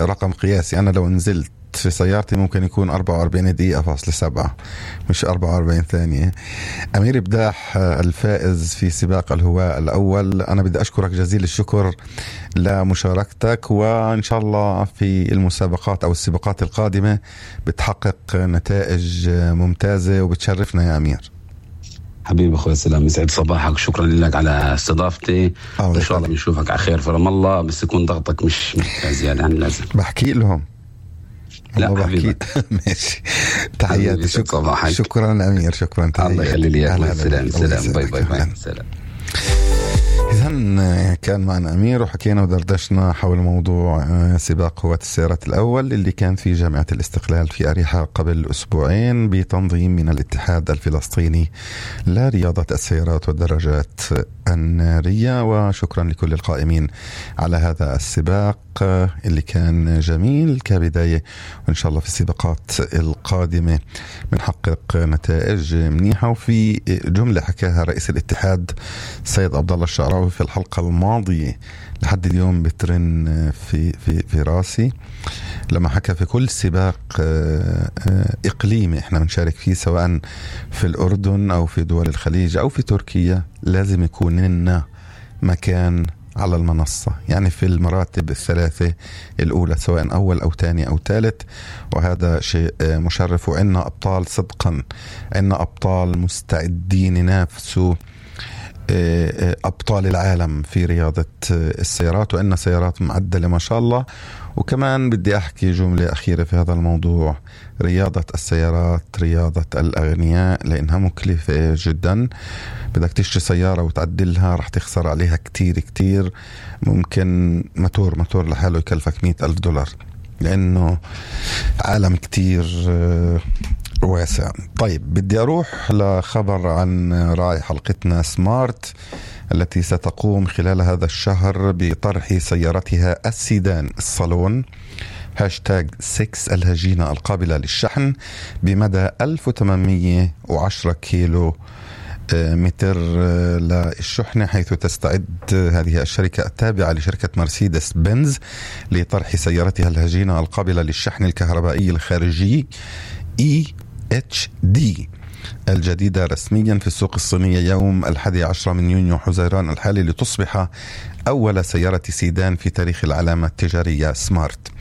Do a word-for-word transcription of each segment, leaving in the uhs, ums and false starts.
رقم قياسي. أنا لو نزلت في سيارتي ممكن يكون أربعة وأربعين دقيقة فاصلة سبعة مش أربعة وأربعين ثانية. أمير بداح الفائز في سباق الهواء الأول، أنا بدي أشكرك جزيل الشكر لمشاركتك، وإن شاء الله في المسابقات أو السباقات القادمة بتحقق نتائج ممتازة وبتشرفنا يا أمير. حبيبي أخوي سلام، يسعد صباحك، شكرا لك على استضافتي، إن شاء الله بنشوفك على خير في رام الله، بس يكون ضغطك مش زيادة عن اللازم. بحكي لهم لا حبيبي. ماشي، تحياتي، شكرا شكرا أمير، شكرا، تحياتي. الله يخلي لي، سلام سلام، باي باي باي، سلام. إذن كان معنا أمير وحكينا ودردشنا حول موضوع سباق هواة السيارات الأول اللي كان في جامعة الاستقلال في أريحة قبل أسبوعين بتنظيم من الاتحاد الفلسطيني لرياضة السيارات والدراجات النارية. وشكرا لكل القائمين على هذا السباق اللي كان جميل كبداية، وإن شاء الله في السباقات القادمة بنحقق نتائج منيحة. وفي جملة حكاها رئيس الاتحاد سيد عبد الله الشعراوي في الحلقة الماضية لحد اليوم بترن في في في راسي، لما حكى في كل سباق إقليمي احنا بنشارك فيه سواء في الأردن أو في دول الخليج أو في تركيا لازم يكون لنا مكان على المنصة، يعني في المراتب الثلاثة الأولى سواء أول أو ثاني أو ثالث، وهذا شيء مشرف. وعنا أبطال صدقا، عنا أبطال مستعدين ينافسوا أبطال العالم في رياضة السيارات، وإن سيارات معدلة ما شاء الله. وكمان بدي أحكي جملة أخيرة في هذا الموضوع، رياضة السيارات رياضة الأغنياء لأنها مكلفة جدا، بدك تشتري سيارة وتعدلها رح تخسر عليها كتير كتير، ممكن موتور موتور لحاله يكلفك مئة ألف دولار لأنه عالم كتير واسع. طيب بدي أروح لخبر عن راعي حلقتنا سمارت التي ستقوم خلال هذا الشهر بطرح سيارتها السيدان الصالون هاشتاج ستة الهجينة القابلة للشحن بمدى ألف وثمانمئة وعشرة كيلو متر للشحنة، حيث تستعد هذه الشركة التابعة لشركة مرسيدس بنز لطرح سيارتها الهجينة القابلة للشحن الكهربائي الخارجي إي إتش دي الجديدة رسميا في السوق الصينية يوم الحادي عشر من يونيو حزيران الحالي، لتصبح أول سيارة سيدان في تاريخ العلامة التجارية سمارت.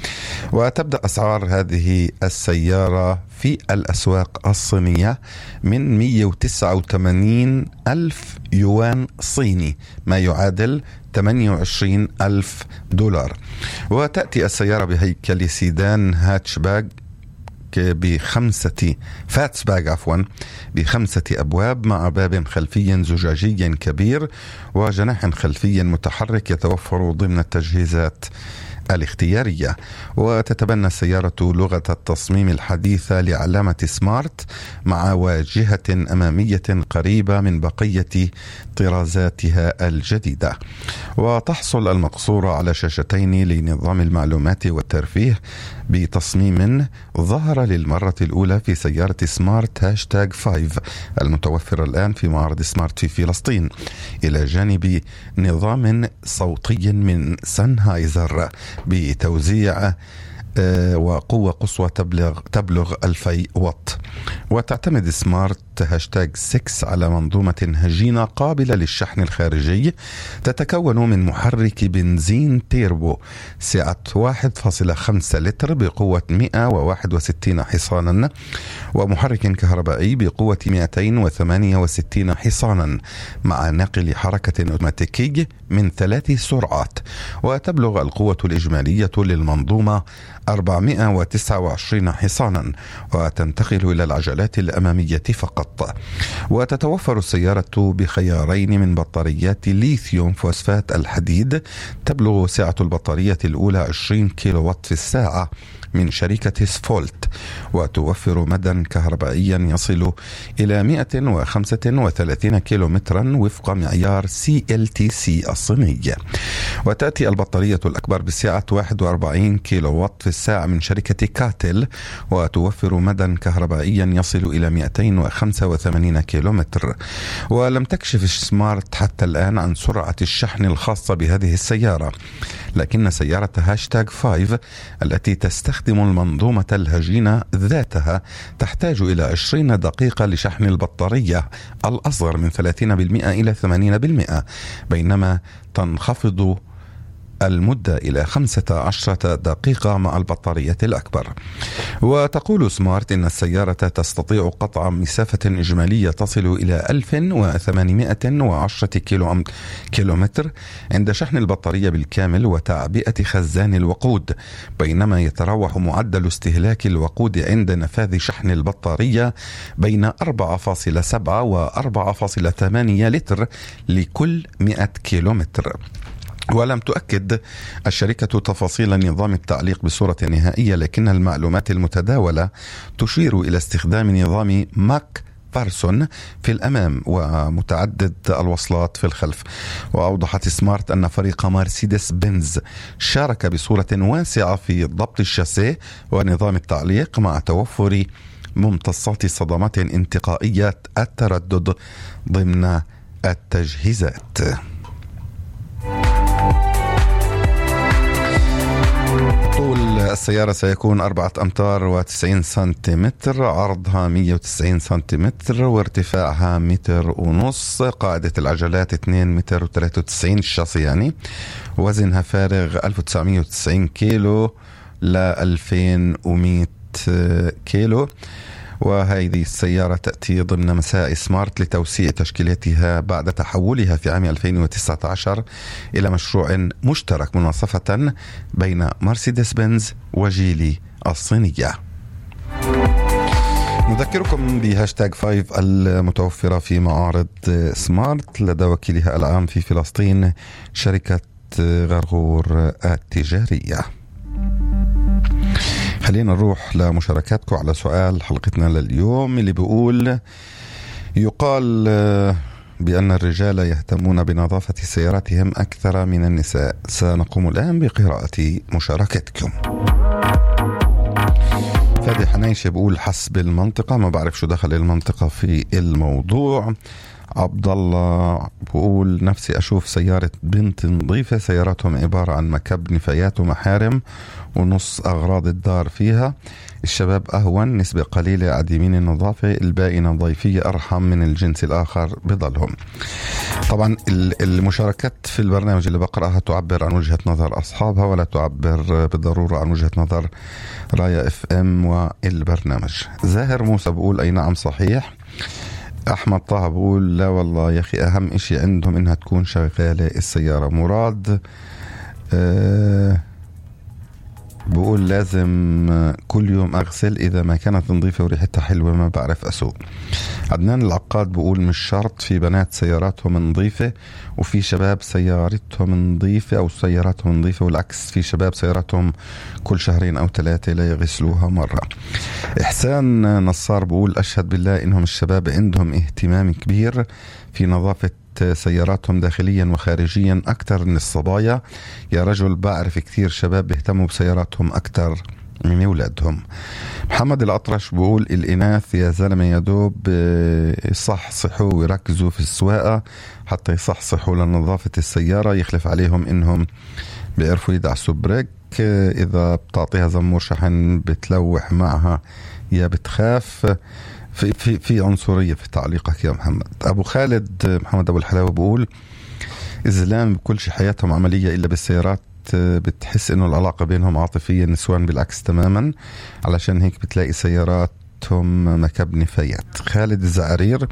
وتبدأ أسعار هذه السيارة في الأسواق الصينية من مئة وتسعة وثمانين ألف يوان صيني، ما يعادل ثمانية وعشرين ألف دولار. وتأتي السيارة بهيكل سيدان هاتشباك بخمسة فاتسباك عفوا بخمسة أبواب مع باب خلفي زجاجي كبير وجناح خلفي متحرك يتوفر ضمن التجهيزات الاختيارية. وتتبنى السيارة لغة التصميم الحديثة لعلامة سمارت مع واجهة أمامية قريبة من بقية طرازاتها الجديدة. وتحصل المقصورة على شاشتين لنظام المعلومات والترفيه بتصميم ظهر للمرة الأولى في سيارة سمارت هاشتاج خمسة المتوفرة الآن في معرض سمارت في فلسطين، إلى جانب نظام صوتي من سنهايزر بتوزيع وقوة قصوى تبلغ تبلغ ألفي واط. وتعتمد سمارت هاشتاج ستة على منظومة هجينة قابلة للشحن الخارجي تتكون من محرك بنزين تيربو سعة واحد فاصلة خمسة لتر بقوة مئة وواحد وستين حصانا، ومحرك كهربائي بقوة مئتين وثمانية وستين حصانا مع نقل حركة أوتوماتيكي من ثلاث سرعات. وتبلغ القوة الإجمالية للمنظومة أربعمئة وتسعة وعشرين حصانا، وتنتقل إلى العجلات الأمامية فقط. وتتوفر السيارة بخيارين من بطاريات ليثيوم فوسفات الحديد، تبلغ سعة البطارية الأولى عشرين كيلو وات في الساعة من شركة سفولت، وتوفر مدى كهربائيا يصل إلى مئة وخمسة وثلاثين كيلو مترا وفق معيار سي إل تي سي الصيني. وتأتي البطارية الأكبر بسعة واحد وأربعين كيلو وات في الساعة من شركة كاتل، وتوفر مدى كهربائيا يصل إلى مئتين وخمسة خمسة وثمانين كيلومتر. ولم تكشف سمارت حتى الآن عن سرعة الشحن الخاصة بهذه السيارة، لكن سيارة هاشتاج فايف التي تستخدم المنظومة الهجينة ذاتها تحتاج إلى عشرين دقيقة لشحن البطارية الأصغر من ثلاثين بالمئة إلى ثمانين بالمئة، بينما تنخفض المدة إلى خمسة عشر دقيقة مع البطارية الأكبر. وتقول سمارت إن السيارة تستطيع قطع مسافة إجمالية تصل إلى ألف وثمانمئة وعشرة كيلو كيلومتر عند شحن البطارية بالكامل وتعبئة خزان الوقود، بينما يتراوح معدل استهلاك الوقود عند نفاذ شحن البطارية بين أربعة فاصلة سبعة و أربعة فاصلة ثمانية لتر لكل مئة كيلومتر. ولم تؤكد الشركة تفاصيل نظام التعليق بصورة نهائية، لكن المعلومات المتداولة تشير إلى استخدام نظام ماك بارسون في الأمام ومتعدد الوصلات في الخلف. وأوضحت سمارت أن فريق مرسيدس بنز شارك بصورة واسعة في ضبط الشاسيه ونظام التعليق مع توفر ممتصات صدمات انتقائية التردد ضمن التجهيزات. طول السيارة سيكون أربعة أمتار وتسعين سنتيمتر، عرضها مئة وتسعين سنتيمتر، وارتفاعها متر ونص. قاعدة العجلات اثنين متر وثلاثة وتسعين الشاصي يعني. وزنها فارغ ألف وتسعمئة وتسعين كيلو ل ألفين ومئة كيلو. وهذه السيارة تأتي ضمن مساعي سمارت لتوسيع تشكيلتها بعد تحولها في عام ألفين وتسعة عشر إلى مشروع مشترك مناصفة بين مرسيدس بنز وجيلي الصينية. نذكركم بهاشتاج فايف المتوفرة في معارض سمارت لدى وكيلها العام في فلسطين شركة غرغور التجارية. خلينا نروح لمشاركاتكم على سؤال حلقتنا لليوم اللي بيقول: يقال بأن الرجال يهتمون بنظافة سياراتهم أكثر من النساء. سنقوم الآن بقراءة مشاركتكم. فادي حنيش بيقول حسب المنطقة، ما بعرف شو دخل المنطقة في الموضوع. عبد الله بقول نفسي أشوف سيارة بنت نظيفة، سياراتهم عبارة عن مكب نفايات ومحارم ونص أغراض الدار فيها. الشباب أهون، نسبة قليلة عديمين النظافة، الباقي نظيفية أرحم من الجنس الآخر بضلهم. طبعا المشاركات في البرنامج اللي بقرأها تعبر عن وجهة نظر أصحابها ولا تعبر بالضرورة عن وجهة نظر رايا اف ام والبرنامج. زاهر موسى بقول أي نعم صحيح. أحمد طه بقول لا والله يا أخي أهم إشي عندهم إنها تكون شغالة السيارة. مراد أه بقول لازم كل يوم أغسل، إذا ما كانت نظيفة وريحتها حلوة ما بعرف أسوق. عدنان العقاد بقول مش شرط، في بنات سياراتهم نظيفة وفي شباب سيارتهم نظيفة أو سياراتهم نظيفة والعكس، في شباب سياراتهم كل شهرين أو ثلاثة لا يغسلوها مرة. إحسان نصار بقول أشهد بالله إنهم الشباب عندهم اهتمام كبير في نظافة سياراتهم داخليا وخارجيا أكثر من الصبايا. يا رجل بعرف كثير شباب بيهتموا بسياراتهم أكثر من أولادهم. محمد الأطرش بقول الإناث يا زلمة يا دوب يصحصحوا ويركزوا في السواقة حتى يصحصحوا لنظافة السيارة، يخلف عليهم إنهم بيعرفوا يدعسوا بريك، إذا بتعطيها زمور شحن بتلوح معها يا بتخاف. في في في عنصرية في تعليقك يا محمد. أبو خالد محمد أبو الحلاوة بقول إزلام بكل شيء حياتهم عملية إلا بالسيارات، بتحس إنه العلاقة بينهم عاطفية، النسوان بالعكس تماما، علشان هيك بتلاقي سياراتهم مكب نفايات. خالد الزعرير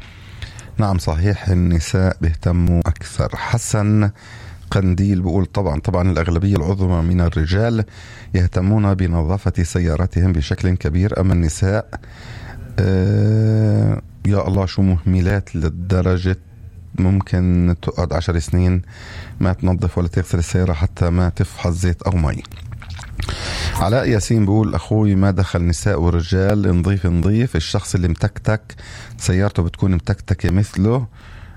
نعم صحيح النساء بيهتموا أكثر. حسن قنديل بقول طبعا طبعا الأغلبية العظمى من الرجال يهتمون بنظافة سياراتهم بشكل كبير، أما النساء آه يا الله شو مهملات للدرجة ممكن تقعد عشر سنين ما تنظف ولا تغسل السيارة حتى ما تفحص زيت أو مي. علاء ياسين بقول أخوي ما دخل نساء ورجال، نظيف نظيف، الشخص اللي متكتك سيارته بتكون متكتكة مثله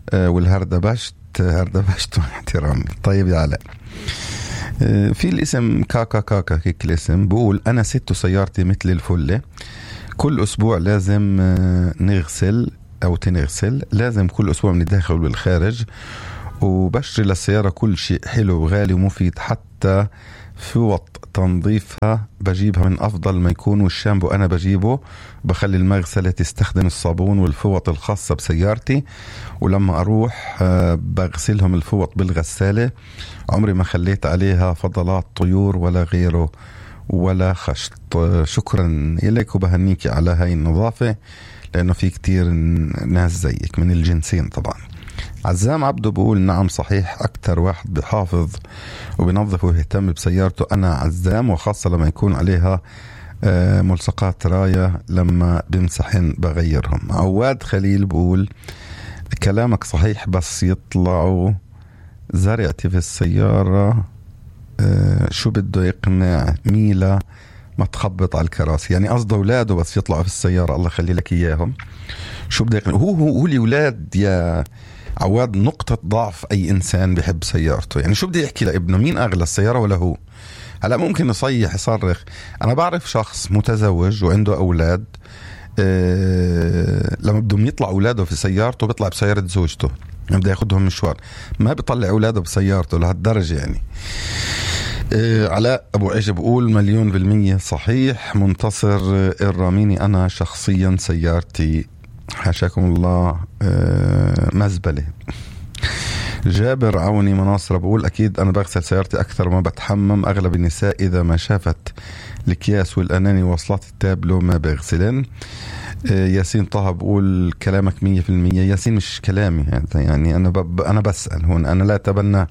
آه والهردبشت هردبشت احترامي. طيب يا علاء آه في الاسم كاكا كاكا هيك الاسم بقول أنا ست سيارتي مثل الفلة، كل أسبوع لازم نغسل أو تنغسل لازم كل أسبوع من الداخل والخارج، وبشتري للسيارة كل شيء حلو وغالي ومفيد، حتى فوط تنظيفها بجيبها من أفضل ما يكون، والشامبو أنا بجيبه بخلي المغسلة تستخدم الصابون والفوط الخاصة بسيارتي، ولما أروح بغسلهم الفوط بالغسالة، عمري ما خليت عليها فضلات طيور ولا غيره ولا خشط. شكرا إليك وبهنيك على هاي النظافة، لأنه في كتير ناس زيك من الجنسين طبعا. عزام عبده بقول نعم صحيح، أكتر واحد بحافظ وبنظف ويهتم بسيارته أنا عزام، وخاصة لما يكون عليها ملصقات راية لما بمسحن بغيرهم. عواد خليل بقول كلامك صحيح، بس يطلعوا زرعتي في السيارة شو بده يقنع ميلا ما تخبط على الكراسي، يعني قصده أولاده بس يطلعوا في السيارة، الله خلي لك إياهم. شو بده يقنع هو هو هو الأولاد يا عواد نقطة ضعف أي إنسان بيحب سيارته. يعني شو بدي يحكي لابنه؟ مين أغلى السيارة ولا هو؟ هلا ممكن يصيح يصرخ. أنا بعرف شخص متزوج وعنده أولاد، أه لما بدهم يطلع أولاده في سيارته بيطلع بسيارة زوجته، يعني بده ياخدهم مشوار، ما بيطلع أولاده بسيارته لهالدرجة يعني. أه علاء أبو عيش بقول مليون بالمية صحيح. منتصر الراميني أنا شخصيا سيارتي حاشاكم الله أه مزبلة. جابر عوني مناصر بقول أكيد أنا بغسل سيارتي أكثر ما بتحمم، أغلب النساء إذا ما شافت الأكياس والأناني وصلات التابلو ما بغسلن. أه ياسين طه بقول كلامك مية في المية. ياسين مش كلامي يعني، أنا ب... أنا بسأل هون، أنا لا أتبنى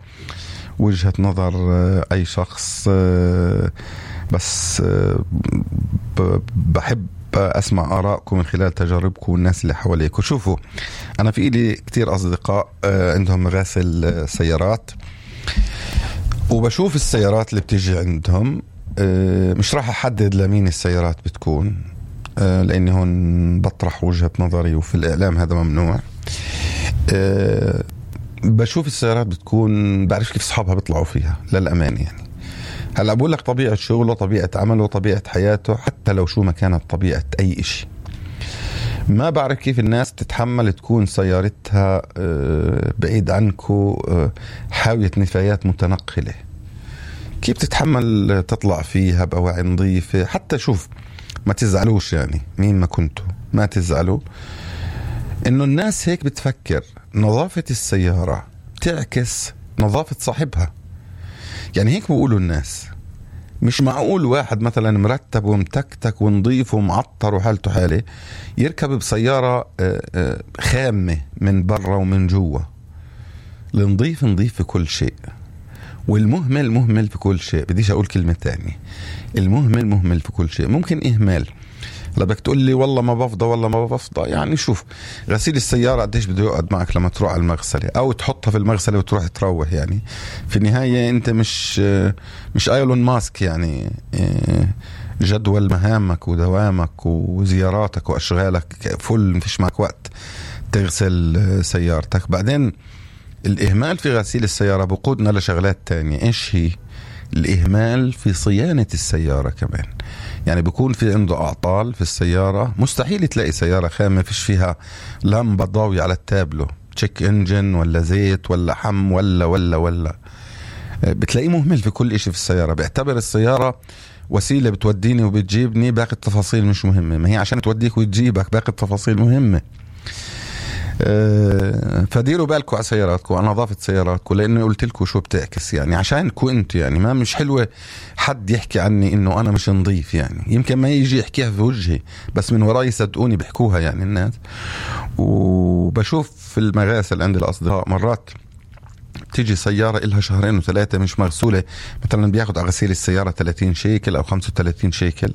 وجهة نظر أه أي شخص، أه بس أه ب... بحب أسمع آراءكم من خلال تجاربكم والناس اللي حواليك. وشوفوا أنا في إلي كتير أصدقاء عندهم مغاسل سيارات، وبشوف السيارات اللي بتيجي عندهم، مش راح أحدد لمين السيارات بتكون لأني هون بطرح وجهة نظري، وفي الإعلام هذا ممنوع. بشوف السيارات بتكون بعرف كيف صحابها بيطلعوا فيها للأمان يعني. هلا بقول لك طبيعة شغله، طبيعة عمله، طبيعة حياته، حتى لو شو ما كانت طبيعة أي إشي، ما بعرف كيف الناس تتحمل تكون سيارتها بعيد عنكو حاوية نفايات متنقلة. كيف تتحمل تطلع فيها بأواعي نظيفة؟ حتى شوف ما تزعلوش يعني، مين ما كنتوا ما تزعلوا إنه الناس هيك بتفكر. نظافة السيارة تعكس نظافة صاحبها، يعني هيك بيقولوا الناس. مش معقول واحد مثلا مرتب ومتكتك ونظيف ومعطر وحالته حالة يركب بسيارة خامة من برا ومن جوا. النظيف نظيف في كل شيء، والمهمل مهمل في كل شيء. بديش أقول كلمة تانية، المهمل مهمل في كل شيء. ممكن إهمال، لا بدك تقول لي والله ما بفضى والله ما بفضى، يعني شوف غسيل السيارة قديش بده يقعد معك لما تروح على المغسلة أو تحطها في المغسلة وتروح تروح، يعني في النهاية أنت مش مش ايلون ماسك يعني، جدول مهامك ودوامك وزياراتك وأشغالك فل، مفيش معك وقت تغسل سيارتك. بعدين الإهمال في غسيل السيارة بقودنا لشغلات تانية. إيش هي؟ الإهمال في صيانة السيارة كمان. يعني بيكون في عنده أعطال في السيارة، مستحيل تلاقي سيارة خامة فيش فيها لمبة ضاوية على التابلو، تشيك انجن ولا زيت ولا حم ولا ولا ولا بتلاقيه مهمل في كل إشي في السيارة. بيعتبر السيارة وسيلة بتوديني وبتجيبني، باقي التفاصيل مش مهمة. ما هي عشان توديك وتجيبك، باقي التفاصيل مهمة. فديروا بالكم على سياراتكم، على نظافة سياراتكم، لأنه قلت لكم شو بتعكس يعني عشانكم انت. يعني ما مش حلوة حد يحكي عني إنه أنا مش نظيف، يعني يمكن ما يجي يحكيها في وجهي بس من وراي صدقوني بيحكوها يعني الناس. وبشوف في المغاسل عند الأصدقاء مرات تيجي سيارة إلها شهرين وثلاثة مش مغسولة، مثلا بياخد على غسيل السيارة ثلاثين شيكل أو خمسة وثلاثين شيكل.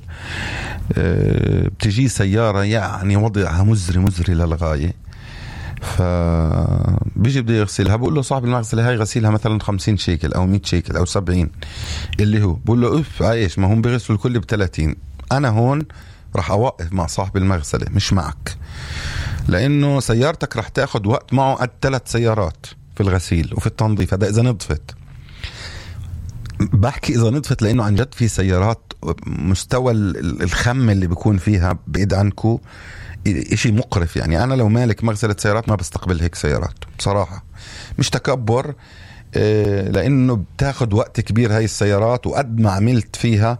أه بتجي سيارة يعني وضعها مزري مزري للغاية، فبيجي بده يغسلها، بقول له صاحب المغسلة هاي غسيلها مثلا خمسين شيكل أو مية شيكل أو سبعين، اللي هو بقول له أف عايش، ما هم بيغسلوا الكل بثلاثين. أنا هون رح أوقف مع صاحب المغسلة مش معك، لأنه سيارتك رح تأخذ وقت معه قد ثلاث سيارات في الغسيل وفي التنظيف. هذا إذا نظفت، بحكي إذا نظفت، لأنه عن جد في سيارات مستوى الخم اللي بيكون فيها بعيد عنكو إشي مقرف يعني. أنا لو مالك مغسلة سيارات ما بستقبل هيك سيارات بصراحة، مش تكبر، لأنه بتاخد وقت كبير هاي السيارات، وقد ما عملت فيها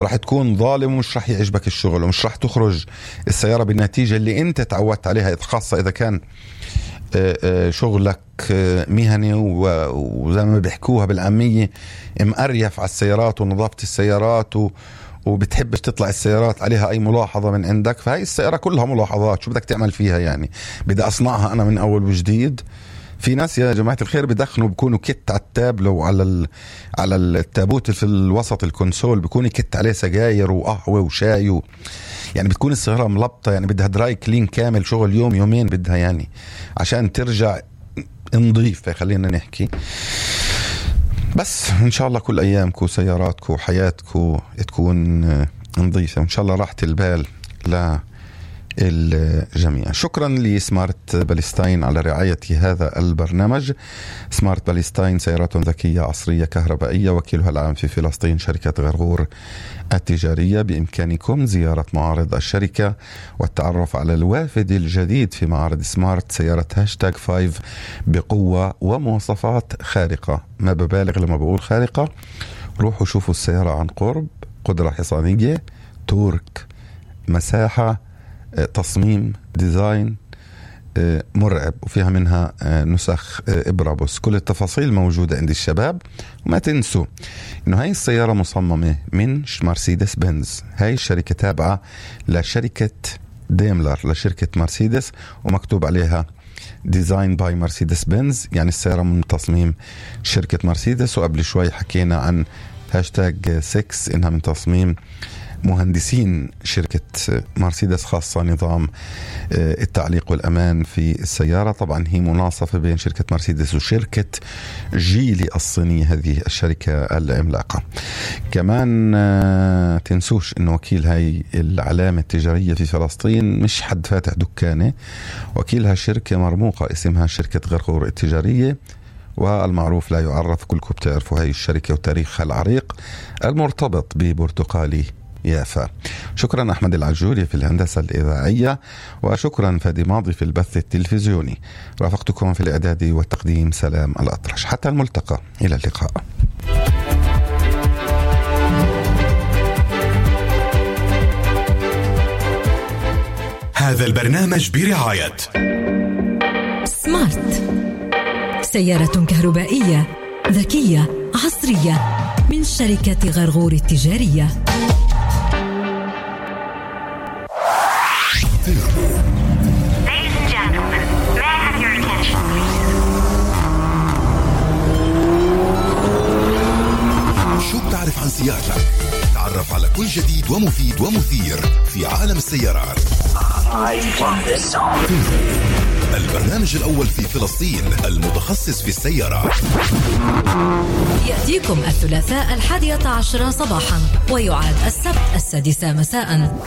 راح تكون ظالم ومش راح يعجبك الشغل، ومش راح تخرج السيارة بالنتيجة اللي انت تعودت عليها، خاصة إذا كان شغلك مهني وزي ما بيحكوها بالعامية مقريف على السيارات ونظافة السيارات و وبتحبش تطلع السيارات عليها أي ملاحظة من عندك. فهي السيارة كلها ملاحظات، شو بدك تعمل فيها يعني؟ بدي أصنعها أنا من أول وجديد. في ناس يا جماعة الخير بدخنوا بيكونوا كت على التابلو على ال... على التابوت في الوسط الكونسول، بيكون كت عليه سجاير وقهوة وشاي و... يعني بتكون السيارة ملبطة، يعني بدها دراي كلين كامل، شغل يوم يومين بدها يعني عشان ترجع نظيف. خلينا نحكي بس إن شاء الله كل أيامكم سياراتكم وحياتكم تكون نظيفة، وإن شاء الله راحة البال للجميع. شكرا لسمارت باليستاين على رعاية هذا البرنامج. سمارت باليستاين سيارات ذكية عصرية كهربائية، وكيلها العام في فلسطين شركة غرغور التجارية. بإمكانكم زيارة معارض الشركة والتعرف على الوافد الجديد في معارض سمارت، سيارة هاشتاج فايف بقوة ومواصفات خارقة. ما ببالغ لما بقول خارقة، روحوا شوفوا السيارة عن قرب. قدرة حصانية، تورك، مساحة، تصميم، ديزاين مرعب، وفيها منها نسخ إبرابوس. كل التفاصيل موجودة عند الشباب. وما تنسوا إنه هاي السيارة مصممة من مرسيدس بنز. هاي الشركة تابعة لشركة ديملر، لشركة مرسيدس، ومكتوب عليها ديزاين باي مرسيدس بنز، يعني السيارة من تصميم شركة مرسيدس. وقبل شوي حكينا عن هاشتاج سكس إنها من تصميم مهندسين شركة مرسيدس، خاصة نظام التعليق والأمان في السيارة. طبعا هي مناصفة بين شركة مرسيدس وشركة جيلي الصينية، هذه الشركة العملاقة. كمان تنسوش إنه وكيل هاي العلامة التجارية في فلسطين مش حد فاتح دكانة، وكيلها شركة مرموقة اسمها شركة غرغور التجارية، والمعروف لا يعرف. كلكم بتعرفوا هاي الشركة وتاريخها العريق المرتبط ببرتقالي يافا. شكرا أحمد العجوري في الهندسة الإذاعية، وشكرا فادي ماضي في البث التلفزيوني. رافقتكم في الإعداد والتقديم سلام الأطرش. حتى الملتقى، إلى اللقاء. هذا البرنامج برعاية سمارت، سيارة كهربائية ذكية عصرية من شركة غرغور التجارية. Ladies and gentlemen, may I have your attention, please? شو بتعرف عن سيارتك؟ تعرف على كل جديد ومفيد ومثير في عالم السيارات. البرنامج الأول في فلسطين المتخصص في السيارات، يأتيكم الثلاثاء الحادية عشرة صباحا، ويعاد السبت السادسة مساء.